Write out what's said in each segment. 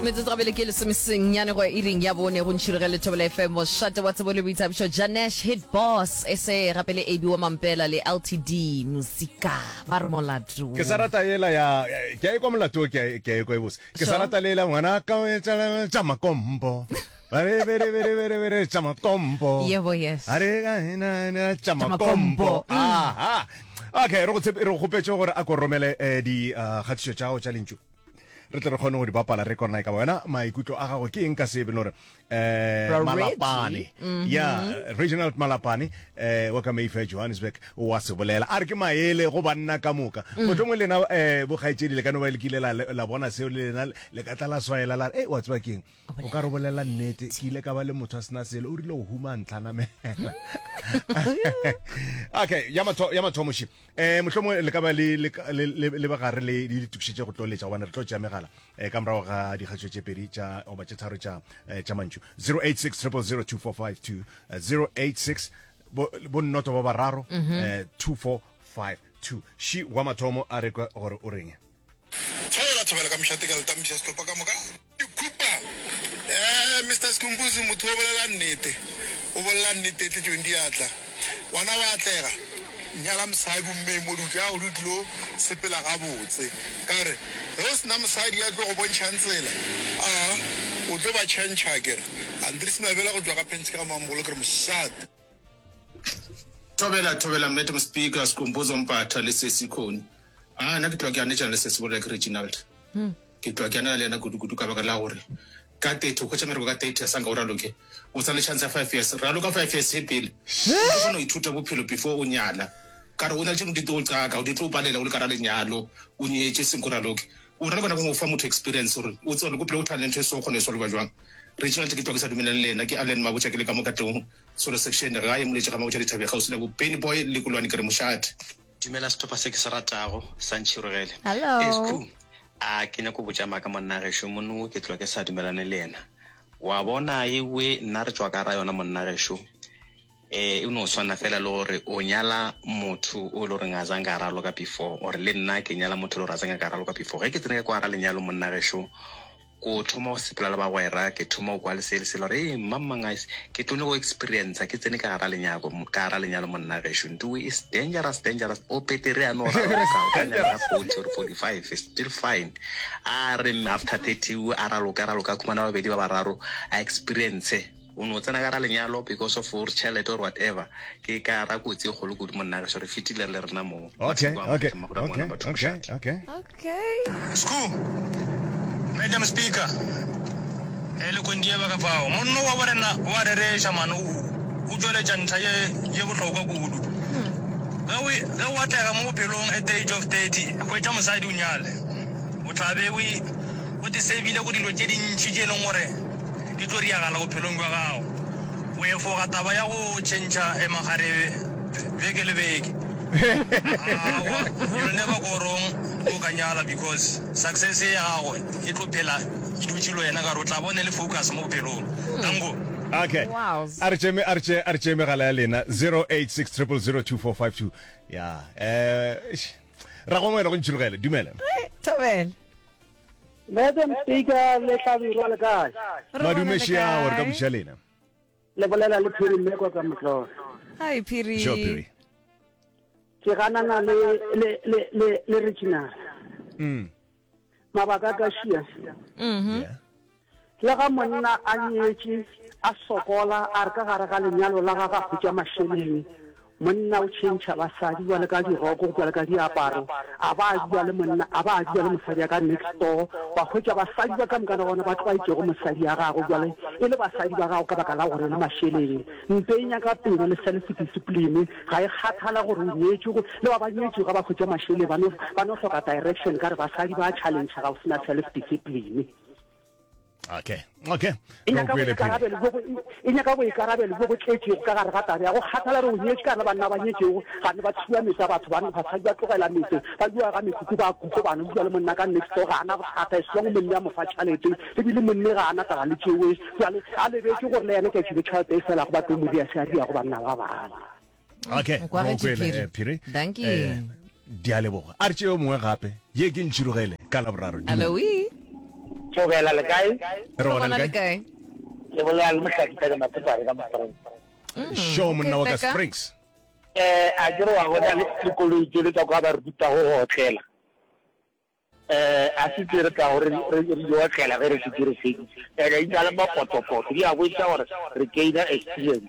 Metsotso gabele ke lesomesenyane go ya iring ya bone go ntšhiroge le Thobela FM mošate wa tsebo le boithabišo Janesh Hit Boss e se gape le AB wa Mampela le LTD Musika ba re molato. Ke sa rata yela ya ke a ekwa molato ke a ke a ekwa e bose. Ke sa rata lela ngwana ka o etsa tša makompo. Ba re be re be re be re be re tša makompo. Yebo yes. A re ka na na tša makompo. Aha. Okay, re go tshepe re go kgopetše gore a ko romele eh, di ah, kgatišo tša gago tša lentšu. Re tle re kgone go di bapala re kona e ka ba wena maikutlo a gago ke eng ka se e beno gore eh Bra Malapane. Reggie. Ya, Reginald Malapane eh wa ka Mayfair Johannesburg wa se bolela. A re ke maele go banna ka moka. Mohlomongwe lena eh bokgaetšedi le ka no ba le kile la la bona seo le lena le ka tla la swaela la re, "Eh wa tseba ke eng? O ka re bolela nnete, ke ile ka ba le motho a sena selo, o rile go huma a ntlhanamela. Okay, ya matho ya mathomo še. Eh mohlomongwe le ka ba le le le le ba gare le le ditokišetše go tlo letša gobane re tlo tšea megala eh ka morago ga dikgatšo tše pedi tša goba tše tharo tša eh, tša mantšu. 086 000 2452 086 bo bo nnoto ba bararo eh 2452. Še wa mathomo a re kwe gore o reng. Thobela thobela ka mošate ka le tampiša sehlopha ka moka. Dikhupa eh Mister Skhumbuzo motho o bolela nnete o bolela nnete e tletšeng diatla ngwana wa atlega nyala mosadi o mmeye mo dutlo ya gore o tlilo sepela gabotse ka gore ge o sena mosadi ya tlo go bontšhang tsela a o tlo ba tšhentšha akere Andries Mabela go tšwa ga Pentsi ga Mamogolo ke re mošate. Thobela thobela Madam Speaker Skhumbuzo Mpatha le Sesi Khoni. A nna ke tloga ke anetšana le Sesi bolela ke Reginald. Ke tloga ke anela le yena kudu kudu ka baka la gore ka 30 o hwetša mereko ka 30 a sanka o raloke o sa le chance ya 5 years raloka 5 years e pele o tlo kgona go ithuta bophelo before o nyala ka re o na le tše dingwe di tlo qaka di tlo palela o le ka ra lenyalo o nyetše senko raloke o raloka nako e nngwe o fa motho experience gore o tsebe gore ko pele o thana le ntho e so o kgona e solva jwang Reginald ke tloga ke sa dumelane le yena ke Allen Mabotja ke le ka mo Katlehong Solo section gae Moletši ga Mabotja Dithabeng kgauswi le bo Benny Boy le Kulwane ke re mošate. Dumela sehlopha se ke se ratago sa Ntšhirogele. Hello. Ee Skhuu, a ke nyako botša maaka monna gešo mono ke tloga ke sa dumelane le yena. Wa bona ewe nna re tšwa ka ra yona monna gešo. Eh e no swana fela le gore o nyala motho o le goreng a zange a raloka before or le nna ke nyala motho le gore a zange ka raloka before. Ge ke tsene ka kwa ra lenyalo monna gešo Ko thoma go sepela le bagwera, ke thoma go kwa le se le sela gore ee mang mang a ke tlo nyako experience ke tsene ka gara lenyako ka gara lenyalo monna gešo ntowe is dangerous dangerous o petere a no raloka o ka nyala ka 40 or 45 is still fine a re after 30 a raloka raloka a khumana babedi ba bararo a experience O no tsena ka ra lenyalo because of gore tšhelete or whatever. Ke ka ra kotsi e kgolo kudu monna gešo re fetile re le rena mo. Okay, Mašego a okay, matle, mahudu a okay, ngwana batho okay, mošate. okay. Okay. Skhoo, Madam Speaker, eh, le Kondieba ka fao. Monno wa borena o a rereša man, o, o tšweletša ntlha ye, ye bohlokwa kudu. Ge o, ge o atlega mo bophelong at the age of 30, hwetša mosadi o nyale. O tla be o, o te savile go dilo tše dintši tše e leng gore di tlo riagala bophelong bja gago. O efoga taba ya go tšhentšha makgarebe beke le beke. Aowa, you'll never go wrong ge o ka nyala because success ya gago e tlo phela e dutše le wena ka gore o tla ba o ne le focus mo bophelong. Danko. Okay. Wows. A re tšee a re tšee a re tšee megala ya lena 086 000 2452. Ya, eh eish. Ragongwela go ntšhirogele. Dumela. Thobela. Madam Speaker le Hlabirwa le kae? Re gona Madume le šeao re ka kae? buša lena. Le bolela le Phiri Mmekwa ka Motlolo. Hi Phiri. Sure Phiri. Ke ganana le le le le le Reginald. Mm. Mabaka a ka šia. Mhm. Yeah. Le ga monna a nyetše a sokola a re ka gare ga lenyalo la gagwe a hwetša mašeleng, monna o tšhentšha basadi bjale ka diroko, bjale ka diaparo, a ba a dula le monna, a ba a dula le mosadi ya ka next door, wa hwetša basadi ba ka moka gona ba tlwaetšego mosadi ya gagwe bjale e le basadi ba gago ka baka la gore le mašeleng. Mpe e nyaka pelo le self discipline, ga e kgathala gore o nyetšwe, go, le ba ba nyetšwego ga ba hwetša mašeleng ba no, ba no hloka direction ka re basadi ba challenge ga o se na self discipline. Okay, okay. E nyaka boikarabelo bjo bo, e nyaka boikarabelo bjo bo tletšego ka gare ga taba ya go kgathala re o nyetše ka re banna ba nyetšego gane ba tshuba metse ya batho banna basadi ba tlogela metse ba bua ga mekhukhu ba kuko bana o bua le monna ka next door ga ana bothata as long monne a mo fa tšhalete ebile monne ga ana taba le tšewe jale a lebetše gore le yena tšatši le tšhalete e felago ba tlo mo dia se a diago banna ba bangwe. Okay, O kwagetše re o kwele, Phiri. eh, Phiri. Dankie. Eh, di a leboga. A re tšee yo mongwe gape. Ye ke ntšhirogele ka Laboraro. Dumela. Aloe. Thobela le kae? Re gona le kae? Le bolela le Mohlaki Teka Matsepare ka Springs. Sure monna wa ka Springs. Eh a ke re wa bona le dikoloi tse le tsa kwa ba re rutago go otlela. Eh a se tse re tlago re re di otlela ge re šetše re feditše. Ene di na le mapotopoto di a bontšha gore re gainer experience.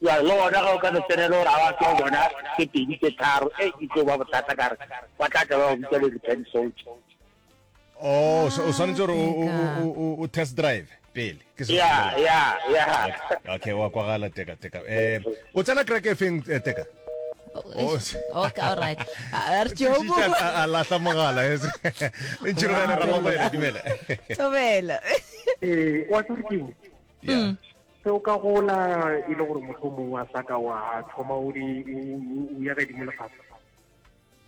Bjale le gona ge o ka no tsenela gore a ba tlo bona tse pedi tse tharo e e tlo ba bothata ka re ba tla tla ba go bitsa le return soldier. Oh, so o swanetše gore o o test drive pele. Ke se. Ya, ya, ya. Okay, wa kwagala teka teka. Eh, o tsena kereke e feng eh, teka? Oh, okay, all right. A re tšeo bo. A lahla mogala. Ntšhirogele ramabele dumela. Thobela. Eh, wa tsere ke. Yeah. Se o ka gola e le gore motho mongwe a sa ka wa thoma o di o ya godimo lefatshe.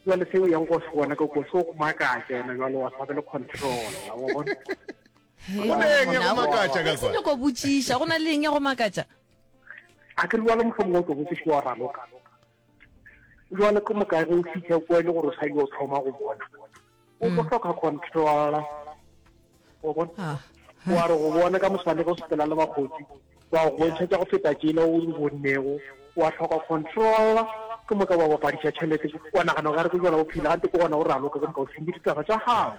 Jwale se o yang go se bona ka ko se go makatša ena jwale wa sa be le control wa bona. Go na eng ya go makatša ka kwa? Se nyoko botšiša, go na le eng ya go makatša? A ke re jwale mohlomongwe o tlo botšiša wa raloka. Jwale ke moka ge o fitlha kwa e le gore o sa yo thoma go bona. O tlo hloka control. Wa bona? Ah. Wa re go bona ka moswane ge o sepela le bakgotsi wa go bontšha tša go feta tšela o di bonnego wa hloka control ke moka wa bapadiša tšhelete wa nagana o ka re ke jona bophelo gante ke gona o raloka ke moka o sentše ditaba tša gago.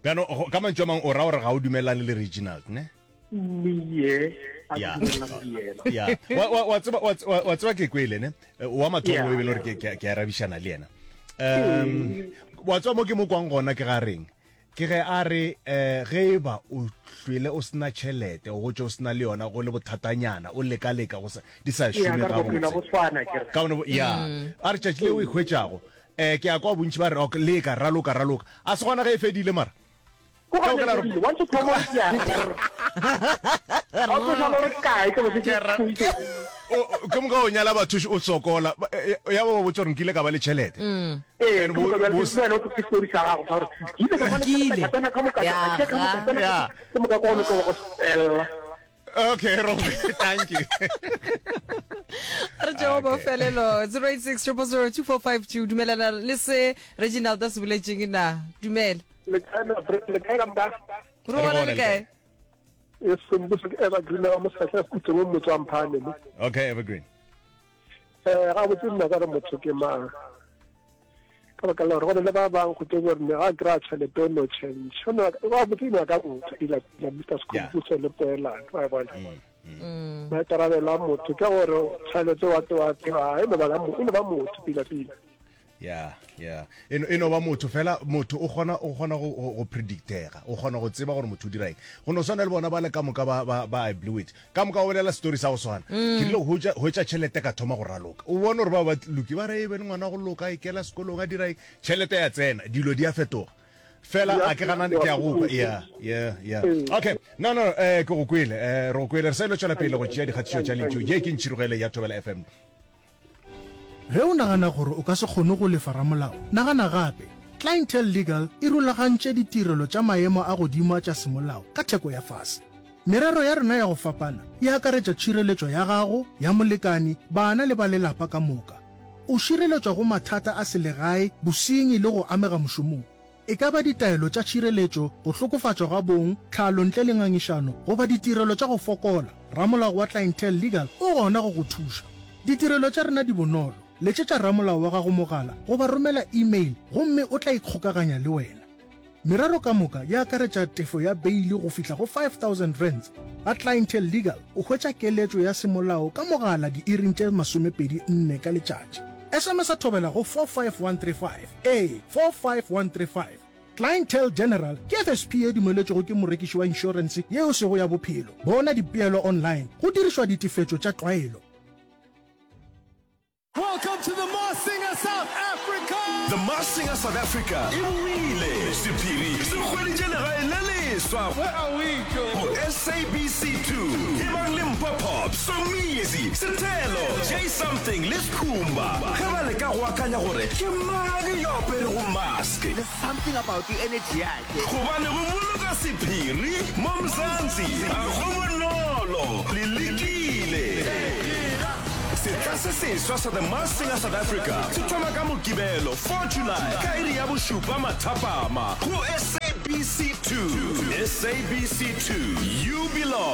Bjano ka mantšu a mangwe o ra gore ga o dumelane le Reginald ne? Mme a ke dumelane le yena. Ya. Wa wa wa tseba wa tseba ke kwele ne? Wa mathomo e be le gore ke ke arabišana le yena. Um wa tseba mo ke mo kwang gona ke ga reng? Ke ge a re, Ge e ba o hlwele o se na tšhelete, o gotše o se na le yona, go le bothatanyana, o leka-leka go sa, di sa Eya, šome ka re bophelo gabotse. bo swana, ke re. Ka gobane bo, ya. A re tšatši le o e hwetšago, um ke a kwa bontši ba re, ok, leka, raloka, raloka. A se gona ge e fedile mara? Ko Ka gona baka la e gore. fedile, once o thoma o ya, ga o tlo šala o re kae, ke bo se Ke ra, ke o, o, ke moka o nyala batho o sokola, ba, e, e, ya ba ba botša gore nkile ka ba le tšhelete. Ee, And ke bo, moka bjale bo, ke wena o tlo story sa gago sa gore ke ile ka ba le tšhelete Nkile. ka tsena ka moka Ya ka tšea ka moka ga. tsena ya. ke moka ke gone ke go fela. Okay, Robi, thank you. Re tšeo Okay. bofelelo 086 000 2452 dumelana le se Reginald a se boletšeng na dumela Le kae na le kae ka moka? re Re gona gona le le kae kae? E sembuso ke Evergreen wa Mosehla Khutse mo motse wa Mphane mo. Okay, Evergreen. Eh ga botse nna ka re motho ke mang. Ka baka la gore go na le ba bang go tlo gore ne ga kry-a tšhelete o no change. O no ga botse ino ka motho ila ila Mr Yeah. Skhumbuso le Poelano wa bona. Maikarabelo a motho ke gore tšhelete wa tsewa tseba e no ba la mo- e no ba motho pila pila. Ya, ya. E no, e no ba motho fela, motho o kgona, o kgona go, go, go predictega. O kgona go tseba gore motho o dira eng. Go no swana le bona ba le ka moka ba, ba, ba I blew it. Ka moka o bolela story sa go swana. Ke rile go hwetša, hwetša tšhelete ka thoma go raloka. O bone gore ba ba loki ba re, Eben ngwana go loka, a ikela sekolong, a dira eng. Tšhelete ya tsena, dilo di a fetoga. Fela Di a a ke gana, ke a go kwa. Ya, ya, ya. Okay, no, no, eh, ke go kwele, eh, re go kwele. Re sa ilo tšwela pele go tšea dikgatišo tša lentšu. Ye ke Ntšhirogele ya Thobela FM. Ge o nagana gore o ka se kgone go lefa ramolao, nagana gape. Clientele Legal e rulagantše ditirelo tša maemo a godimo a tša semolao ka theko ya fase. Merero ya rena ya go fapana e akaretša tšhireletšo ya gago, ya molekani, bana le ba lelapa ka moka. O šireletšwa go mathata a selegae, bosenyi le go amega mošomong. E ka ba ditaelo tša tšhireletšo, go hlokofatšwa ga bong, tlhalo ntle le ngangišano, goba ditirelo tša go fokola, ramolao wa Clientele Legal o gona go go thuša. Ditirelo tša rena di bonolo, letšetša ramolao wa gago mogala goba romela e-mail gomme o tla ikgokaganya le wena. Merero ka moka e akaretša tefo ya beili go fihla go R5000. Ga Clientele Legal o hwetša keletšo ya semolao ka mogala diiring tše 24 ka letšatši. SMS-a thobela go 45135. Ee, 45135. Clientele General ke FSP ye dumeletšwego ke morekiši wa inšorense ye e sego ya bophelo. Bona dipeelo online go dirišwa ditefetšo tša tlwaelo. Welcome to the Masked Singer South Africa! The Masked Singer South Africa e boile! Sephiri se hweditše legae le leswa go SABC 2. Ebang le Mpho Pop, Somizi, Sethelo, Jay Something le Skhumba ge ba leka go akanya gore ke mang yo aperego mask. There's something about the energy yake. Gobane go boloka sephiri mo Mzansi ga go bonolo. Le lekile. Sehla se seswa sa The Masked Singer South Africa se thoma ka Mokibelo, 4 July ka iri ya bošupa mathapama go SABC 2. SABC 2, you belong.